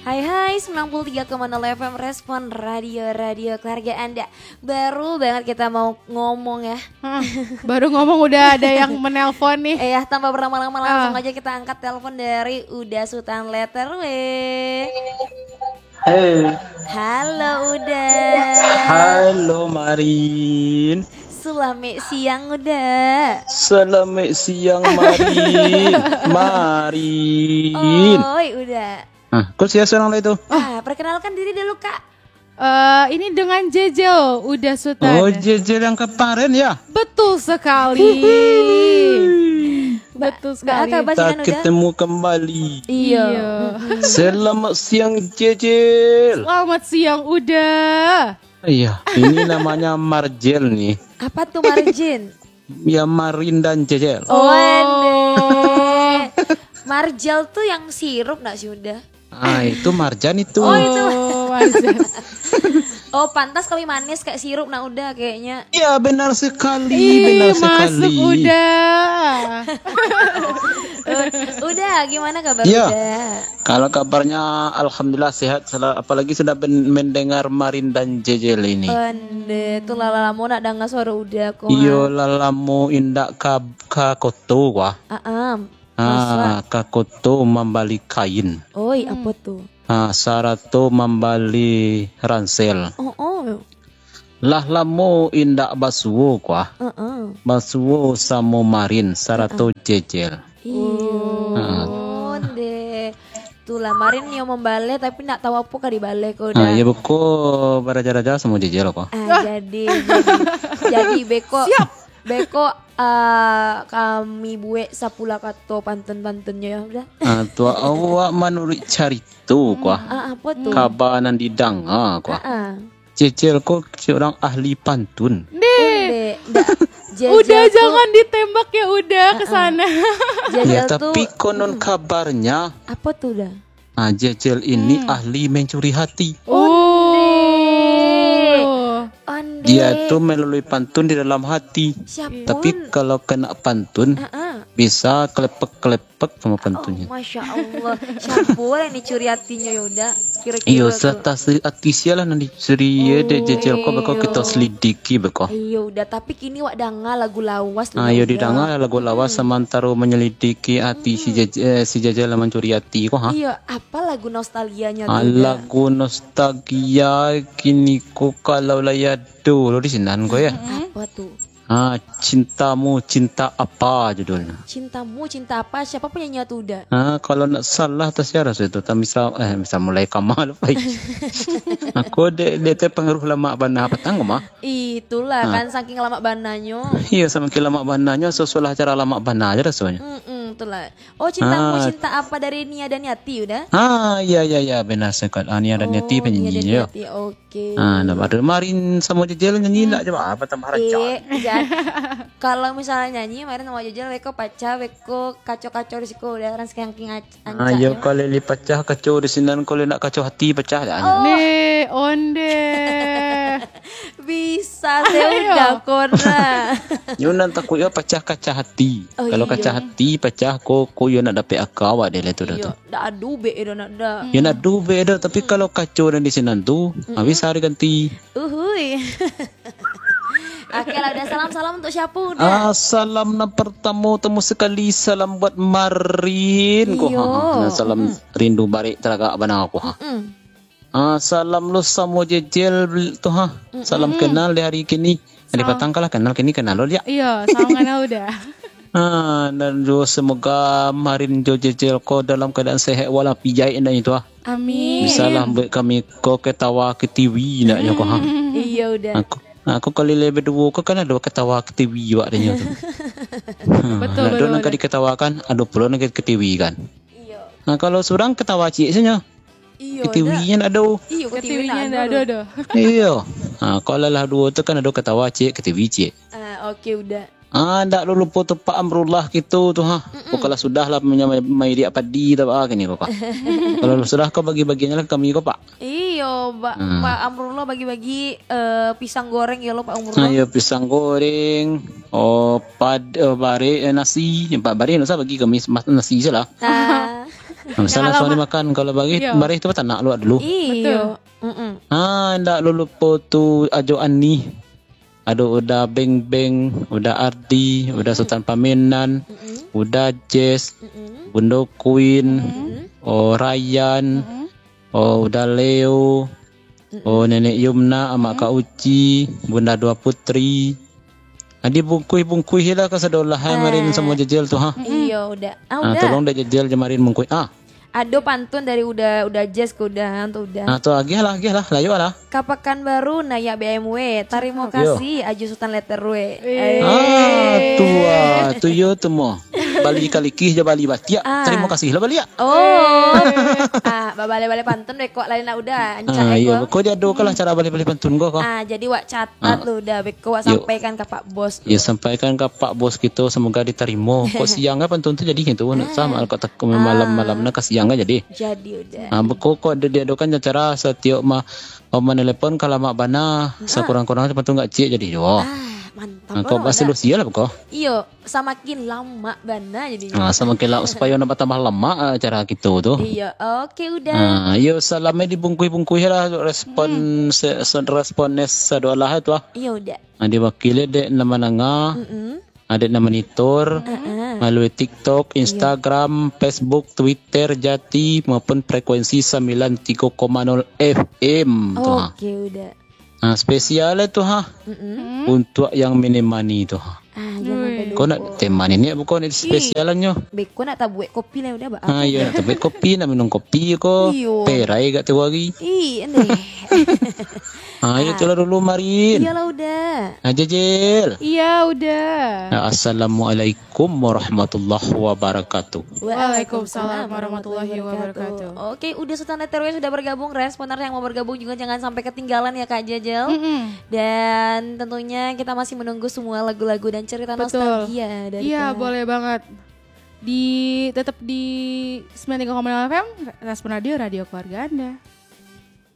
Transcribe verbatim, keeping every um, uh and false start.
Hai hai, sembilan puluh tiga koma nol F M Respon, radio-radio keluarga Anda. Baru banget kita mau ngomong ya. Hmm, baru ngomong udah ada yang menelpon nih. Eh, ya, tanpa berlama-lama, langsung Ah. aja kita angkat telepon dari Uda Sutan Letter W. Hei. Halo Uda. Halo Marin. Selamat siang Uda. Selamat siang Marin. Marin. Oi Uda. Hah, kok sia surang lai tu? Ah, perkenalkan diri dulu, Kak. Eh, ini dengan Jejel, Uda Sutan. Oh, Jejel yang kemarin ya? Betul sekali. Betul Ba-, sekali. Kak, Basinan Uda? Kita ketemu kembali. Iya. Iya. Mm-mm. Selamat siang, Jejel. Selamat siang, Uda. Iya, ini namanya Marjel nih. Apa tuh Marjin? Ya, Marin dan Jejel. Oh. Wendeh. Marjel tuh yang sirup nak sih Uda? Ah, itu Marjan itu. Oh, itu. Oh, Marjan. Oh, pantas kami manis kayak sirup nak Uda kayaknya. Iya, benar sekali, Ih, benar masuk sekali. Uda. Eh, Uda, gimana kabar Iya. Uda? Kalau kabarnya, alhamdulillah sehat, sela-, apalagi sudah ben-, mendengar Marin dan Jejel ini. Onde, tu lah lamo nak danga suaro Uda ko, Iyo, ha. Lah lamo indak ka, ka koto, wah. Aam. Ah, Masra. Ka koto mambali kain. Oi, Hmm. apo tu? Ah, sarato mambali ransel. Oh, oh. Lah lamo indak basuo, kuah. Heeh. Basuo samo Marin sarato Heeh. Jejel. Iyo, Heeh. Onde. Tulah, Marin nio mambaleh, tapi ndak tahu apo ka dibaleh ko, Ah, Uda. Iyo, beko baraja-raja samo Jejel ko. Ah, Ah. jadi, jadi, jadi beko, Siap. beko, ah, kami buek sapulah kato pantun-pantunnyo, yo, Uda. Ah, tu awak manuruik carito, kuah. Hmm. Ah, apo tu? Kaba nan didanga, kuah. Ah, ah. Jejel ko surang ahli pantun. Ndeh. Onde, ndak. Jejel Uda tu jangan ditembak ya, Uda, ke Ah, ah. sana. Jejel Ya, tu tapi konon Hmm. kabarnya Apo tu, Uda? Ah, Jejel ini Hmm. ahli mencuri hati. Onde. Oh. Onde. Dia tu melalui pantun di dalam hati. Siapun. Tapi kalau kena pantun, Ah, ah. bisa kelepek-kelepek sama pantunnyo. Oh, Masya Allah. Siapa orang ni curi hatinya, ya Uda? Kira-kira Iyo, tu. Serta si-, ati sia lah nan dicuri, ya, dek Oh. Jejel ko, beko kita Iyo. selidiki, beko. Iyo, Uda. Tapi kini wak danga lagu lawas tu, Ah, iyo, Uda. didanga lagu lawas Hmm. samantaro menyelidiki ati si Hmm. Jej-, eh, si Jejel lah mancuri ati ko, ha? Iyo, apa lagu nostalgianya Ah, tu, Uda? Lagu nostalgia kini ko kalau lah ya dulu di sinan ko, ya. Hmm. Apa tu? Ah, Cintamu Cinta Apa judulnya. Cintamu Cinta Apa? Siapa penyanyi tu, Uda? Ah, kalau nak salah, tak siapa tu. Tapi bisa, eh, bisa mulai kamal, Pak. Aku dek, dek teh pengaruh lamak bana patang, mah. Itulah Ah. kan, saking lamak bananyo. Iya, samakin lamak bananyo, sesuai acara lamak bana aja rasanya. Mm-mm, itulah. Oh, Cintamu Ah. Cinta Apa dari Nia Daniati, Uda? Ah, iya, iya, iya, benar sekali. Ah, Nia Daniati Oh, Nia penyanyi, ya. Daniati, oke. Ah, nah, baru Marin sama Jejel nyanyi Hmm. ndak coba? Apa tambah rancak? Eh, jan. Kalau misalnya nyanyi, Marin sama Jejel, beko pacah, beko kaco-kaco di siko, Uda, orang saking ac-, Ah, ancaknyo. Iyo, kalau li pacah kaco di sinan, kalau nak kaco hati pacah dah. Oh. Ni, onde. Bisa, saya Ayo. udah kona. Nyo nan takut yo pacah kaca hati. Oh, Kalau iyo. kaca hati pacah, ko, ko yo nak dapek aka awak deh lah tu dah Iyo, tu. Dak ado bek dah nak dah. Yo nak ado bek dah, tapi Hmm. kalau kaco dan di sinan tu, Hmm. habis hari ganti. Uhui. Oke lah, Uda, salam-salam untuk siapa, Uda? Ah, salam nan pertamo, tamo sekali, salam buat Marin, ko. Iyo. Ha, ha, salam Mm-mm. rindu barek taragak bana, ko, ha. Mm-mm. Ah, salam lo samo Jejel tu, ha. Mm-mm. Salam kenal di hari kini. Di Salam. patang kalah kenal, kini kenal lo, liak. Iyo, salam kenal, Uda. Ah, dan jo semoga Marin jo Jejel ko dalam keadaan sehat walafiat, indak itu, ah. Amin. Bisalah buek kami ko ketawa ketiwi, indak nyo ko, ha. Iyo, Uda. Aku, aku kalau lai baduo ko kan ado ketawa ketiwi awak dek nyo tu. Ha, Betul, ado betul, nan ka betul. diketawakan, ado pulo nan ka diketiwikan. Iyo. Nah, kalau surang ketawa ciek sajo. Iyo, Ketiwi Uda. nyo ndak ado. Iyo, ketiwi Ketiwi nyo ndak ndak ado ado. doh. Iyo. Ha, kalau lah duo tu kan ado ketawa ciek, ketiwi ciek. Ah, oke, Uda. Ah, ndak lo lupo tu Pak Amrullah kito tu, ha. Mm-mm. Ko kalau sudah lah punya mai, mai diak padi tu, ah, kini ko, Pak. Kalau sudah ko bagi-bagian lah kami ko, Pak. Iyo, Pak, Hmm. Pak Amrullah bagi-bagi, eh, pisang goreng yo lo, Pak Amrullah. Ah, iyo, pisang goreng, oh, pad-, oh, barek, eh, nasi. Pak barek ndak usah bagi kami, mas-, nasi se lah. Ah. Nah, misalnya suami makan, kalau barih, iyo, barih tu batanak luak dulu. Iyo. Betul. Mm-mm. Ah, ndak lo lupo tu Ajo Ani. Ado Uda Beng Beng, Uda Ardi, Uda Sultan Pamenan, mm-mm, Uda Jess, mm-mm, Bundo Queen, mm-mm, oh, Ryan, mm-mm, oh, Uda Leo, mm-mm, oh, Nenek Yumna, Amak, mm-mm, Kak Uci, Bunda Dua Putri. Ah, dibungkuih-bungkuih lah ka sadolah, eh, marin samo Jejel tu, ha. Iyo, Uda. Ah, ah, Uda. Tolong dek Jejel je marin bungkuih. Ah. Ado pantun dari Uda, Uda Jess ke Uda, tu Uda. Ah, tu agiah lah, agiah lah, layuak lah. Ka Pakanbaru naiak B M W. Tarimo kasih, Ajo Sultan Letter W. Eh. Ah, tu ah, tu iyo tu mo. Bali kalikih jo bali batiak. Ah. Tarimo kasih lah baliak. Oh. Ah, babale-bale pantun deh kok lain lah Uda. Ancak. Ah, iyo, beko diadokan lah cara bale-bale pantun ko, ko. Ah, jadi wak catat lu Uda, beko wak sampaikan ka Pak Bos. Yo, sampaikan ka Pak Bos kito, semoga ditarimo. Kok siang kan pantun tu jadi gitu, nak sama kok tak malam-malam nak ka siang kan jadi. Jadi Uda. Ah, beko kok di-, diadokan acara satiok ma-, oh, manelepon ka lamak bana, sakurang-kurang pantun gak ciek jadi juo. Ah, mantap. Ah, kok bahasa Lucia lah beko. Iyo, samakin lamak bana jadi. Ah, samakin la-, supaya nak batambah lamak, ah, acara kito tu. Iyo, oke Uda. Ah, iyo, salamnya dibungkuih-bungkuih lah respon se-, se-, respon sadolah tu ah. Iyo Uda. Ah, diwakili dek nan mandanga, mm-mm, ah, dek nan manitur, mm-mm, malalui TikTok, iyo, Instagram, Facebook, Twitter, Jati, maupun frekuensi sambilan tigo koma nol F M tu, ha. Oke Uda. Ah, spesial tu, ha. Mm-mm. Untuak yang menemani tu, ha. Ah, jangan sampai lupo. Kau nak temani ni bukan ni spesialannyo. Beko nak tabuek kopi lah Uda, ba-, ah, iyo, nak tabuek kopi, nak minum kopi ko. Iyo. Perai gak tigo hari. Ih, aneh. Ah, iyo, itulah dulu, Marin. Iyolah Uda. Ah, Jejel. Iya Uda. Ah, assalamualaikum warahmatullahi wabarakatuh. Waalaikumsalam warahmatullahi wabarakatuh. Oke, Uda Sultan Letter W sudah bergabung. Responer yang mau bergabung juga jangan sampai ketinggalan ya, Kak Jejel. Mm-mm. Dan tentunya kita masih menunggu semua lagu-lagu dan cerita nostalgia dari Kak. Betul. Iya, boleh banget. Di, tetap di sembilan tiga koma lima F M, Respon Radio, radio keluarga Anda.